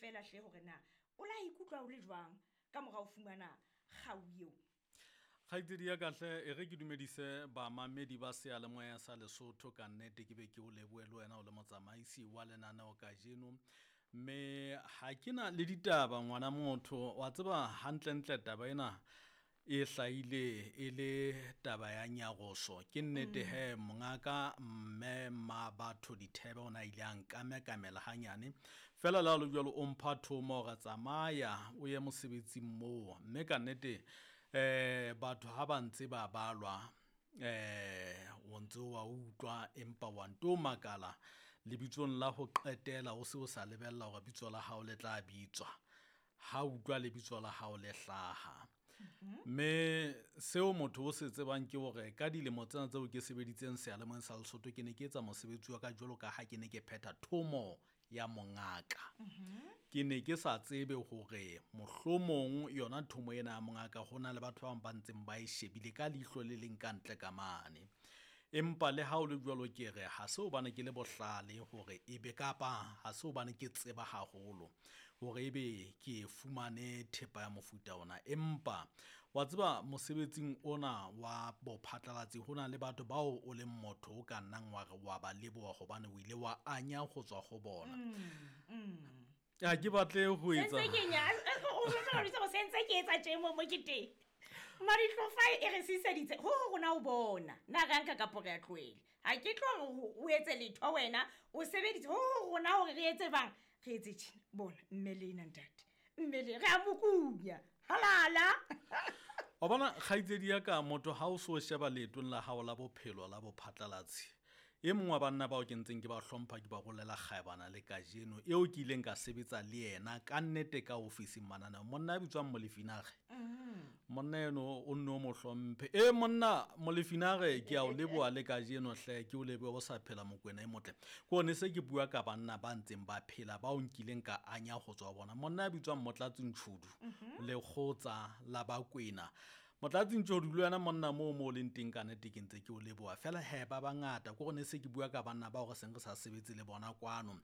feela hle hore na o la ikutlwa o le jwang ka mora ho fumana kgau eo. Kgaitsedi ya ka hle, e re ke dumedise bamamedi ba seyalemoya sa Lesotho ka nnete ke be ke o lebohe le wena o le motsamaisi wa lenaneo kajeno. Mme ha ke na le ditaba ngwana motho, wa tseba hantlentle taba ena e hlahile e le taba ya nyaroso. Ke nnete he mongaka mme Mmabatho Dithebe o ne a ile a nkamekamela hanyane. Fela le ha le jwalo o mpha thomo hore tsamaya o ye mosebetsing moo. Mme ka nnete batho ha ba ntse ba balwa o ntse wa utlwa empa wa nto makala lebitsong la ho qetela o se o sa lebella hore bitso la hao le tla bitswa. Ha utlwa lebitso la hao le hlaha. Mme seo motho o se tsebang ke hore ka dilemo tsena tseo ke sebeditseng seyalemoyeng sa Lesotho ke ne ke etsa mosebetsi wa ka jwalo ka ha ke ne ke phetha thomo ya mongaka. Ke ne ke sa tsebe hore mohlomong yona thomo ena ya mongaka ho na le batho ba bang ba ntseng ba e shebile ka leihlo le leng ka ntle ka mane. Empa le ha o le jwalo ke re ha se hobane ke le bohlale hore ebe kapa ha se hobane ke tseba haholo hore ebe ke fumane thepa ya mofuta ona. Empa wa tseba mosebetsing ona wa bophatlalatsi ho na le batho bao o leng motho o ka nnang wa re wa ba leboha hobane o ile wa anya ho tswa ho bona. Ha ke batle ho etsa. Sentse ke nya, o jwetsa hore se sentse ke etsa tje mo mo ke teng. Maditlofa e re siseditse ho ho rona o bona. Na re nka kapo re a tlohele. Ha ke tlo hore o etse letho wena, o sebeditse ho ho rona hore re etse bang. Re etse tjena. Bona mme le ena ntate. Mme le re a mokunya. Halala. Wa bona kgaitsedi ya ka motho ha o so sheba leetong la hao la bophelo la bophatlalatsi. E mong wa banna bao ke ntseng ke ba hlompha ke ba rolela kgaebana le kajeno eo ke ileng ka sebetsa le yena ka nnete ka ofising mananeo. Monna ya bitswang Molefinare. Monna eno o nne o mo hlomphe. E monna Molefinare ke a o leboha le kajeno hle, ke o lebohe o sa phela Mokwena e motle. Ke one se ke bua ka banna ba ntseng ba phela bao nkileng ka anya ho tswa bona. Monna ya bitswang Motlatsi Ntshudu lekgotsa la Bakwena. Motlatsi Ntshudu le wena monna moo mo leng teng ka nnete ke ntse ke o leboha. Fela he ba bangata ke gone se ke bua ka banna bao re seng re sa sebetse le bona kwano.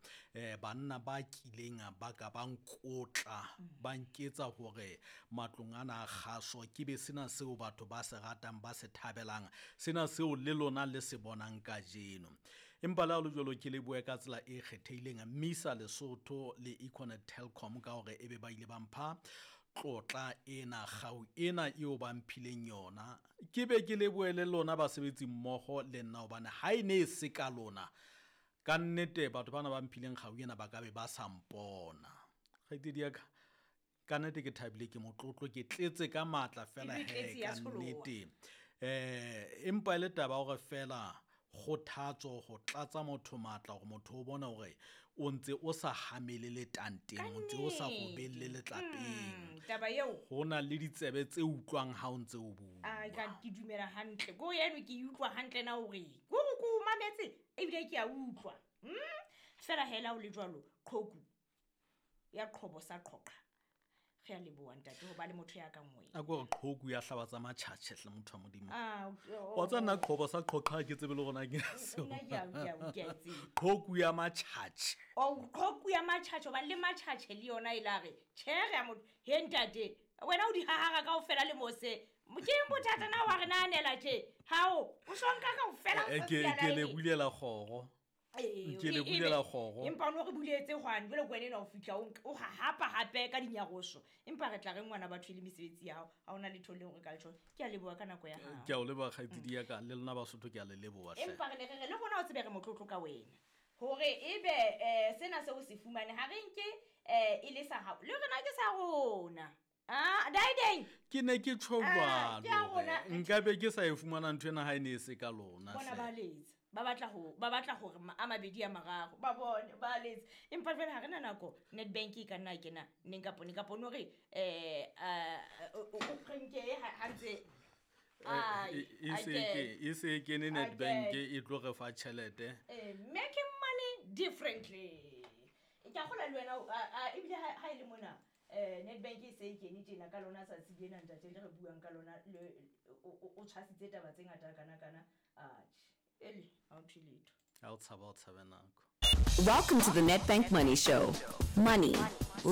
Banna ba kileng ba ka ba nkotla, ba nketsa hore matlong ana a kgaso ke be sena seo batho ba se ratang ba se thabelang, sena seo le lona le se bonang kajeno. Empa le ha ho le jwalo ke lebohe ka tsela e kgethehileng Misa Lesotho le Econet Telkom ka hore ebe ba ile ba mpha tlotla ena, kgau ena eo ba mphileng yona. Ke be ke lebohe le lona basebetsi mmoho le nna hobane ha e ne e se ka lona ka nnete batho bana ba mphileng kgau ena ba ka be ba sa mpona. Kgaitsedi ya ka, ka nnete ke thabile, ke motlotlo, ke tletse ka matla fela Ke tletse he ya ka tsholoha. nnete. Empa e le taba hore fela kgothatso ho tlatsa motho matla hore motho o bone hore o ntse o sa hamele letanteng, o ntse o sa robelle letlapeng. Taba eo. Ho na le ditsebe tse utlwang ha o ntse o bua. Ai, ka ke dumela hantle. Ko eno ke e utlwa hantle na hore ke hore ke o mametse ebile ke a utlwa. Fela hela o le jwalo, qhoku ya qhobo sa qhoqa. Re a leboha ntate ho ba le motho ya kang wena. A ko re qhoku ya hlaba tsa matjhatjhe hle motho wa Modimo. Ah, o, Wa tseba nna qhobo sa qhoqa ha ke tsebe le hore na ke seo. Nna ke a, ke a, ke a e tseba. Qhoku ya matjhatjhe. Oh, qhoku ya matjhatjhe, hobane le matjhatjhe le yona e la re, tjhe, re a motho, he ntate, wena o di hahara kaofela le mose. Ke eng bothata na wa re nahanela tje? Hao, o so nka kaofela o sa siya Ke le line. bulela kgoro. Ee, Ke le bulela kgoro. Empa o no re buletse hwane, jwale ke wena enwa o fihla o nka, o hahapa hape ka dinyaroso. Empa re tla re ngwana batho e le mesebetsi ya hao, ha hona letho leo re ka le tjho. Ke a leboha ka nako ya hao. Ke a o leboha kgaitsedi ya ka, le lona Basotho ke a le leboha hle. Empa re ne re re le rona o tsebe re motlotlo ka wena. Hore ebe sena seo se fumane ha re nke e le sa hao. Le rona ke sa rona. Ah, Daideng. Ke ne ke tjho Ah, jwalo ke a rona. hore nka be ke sa e fumana ntho ena ha e ne e se ka lona Bona hle. ba letsa. Ba batla ho, ba batla hore a mabedi a mararo. Ba bone, ba letsa. Empa jwale ha re na nako, Nedbank e ka nna kena neng kapa neng kapa no re, o krenke ha ntse Ai, ai ke. E se kene Ai Nedbank ke. e tlo re fa tjhelete. Making money differently. Ke a kgolwa le wena, ebile ha e le mona, Nedbank e se e kene tjena ka lona tsatsi lena ntate le re buang ka lona, le, o tshwasitse taba tse ngata kana kana. Atjhe, ele, ha o thwe letho. Ha o tshaba, o tshabe nako. Welcome to the Nedbank Money Show. Money.